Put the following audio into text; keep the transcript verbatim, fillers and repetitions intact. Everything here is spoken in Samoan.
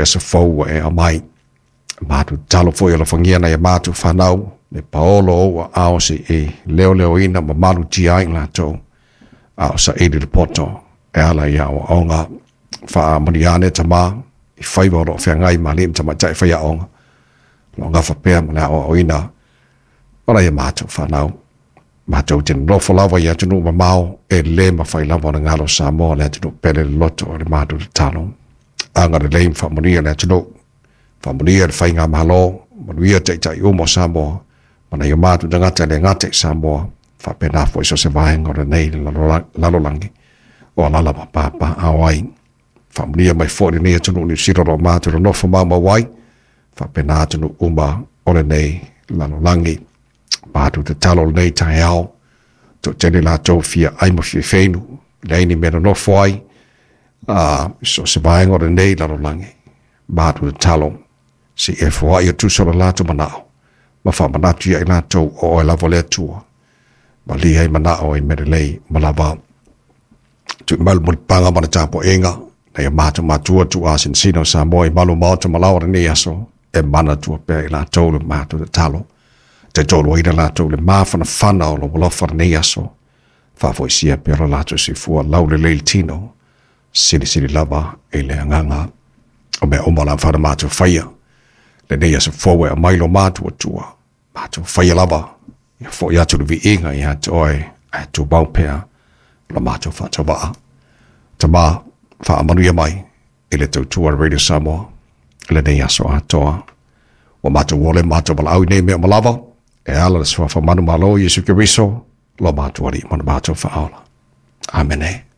Aso fou e aumai. Matou tatalo foi alofagia nai a matou fanau le paolo o ou aao seʻi leoleoina ma malutia ai latou a o saili le poto e ala i aoaoga. Faamanuia ane, Tamā, i faiva o loo feagai ma alii ma tamaitai faiaoga o loo gafa pea ma le aoaoina o nai a matou fanau. Matou te nonofo lava i atunuu mamao, e lē mafai lava ona galo Samoa, le atunuu pele loloto o le matou tatalo. Agalelei ma faamanuia le atunuu, faamanuia le faigamalo, manuia taitai uma o Samoa ma nai o matou tagata e le gata i Samoa, faapena foi so se vaega o lenei lalolagi o alala ma papaaao ai. Faamanuia mai foi lenei atunuu Niu Sila o loo matou nonofo maumau ai, faapena atunuu uma o lenei lalolagi. Matou tatalo lenei taeao, toatele latou fia ai ma fia feinu, leai ni mea nonofo ai a so se vaega o lenei lalolagi. Matou tatalo seʻi e foai o tusa o le latou manao ma faamanatu ia i latou o oe lava le Atua malia ai manao ai mea lelei ma lava. Tuuina mai le mulipapaga ma le tapuaiga nai o matou matua tuuasinasina o Samoa i malu maota ma laoa lenei aso, e manatua pea i latou le matou tatalo. Taitoluaina latou le mafanafana o lou alofa lenei aso, faafoisia pea lo latou soifua laulelei le tino, silisili lava i le agaga o mea uma o le a mafai ona matou faia lenei aso fou e aumai lo matou Atua. Matou faia lava ia fo'i atu le viiga ia te oe, ae tumau pea lo matou faatauvaa. Tamā, faamanuia mai i le tautua a Radio Samoa lenei aso atoa. Ua matou ole matou valaau i nei mea uma lava e ala le suafa manumalo Iesu Keriso lo matou Alii ma le matou Faaola. Amene.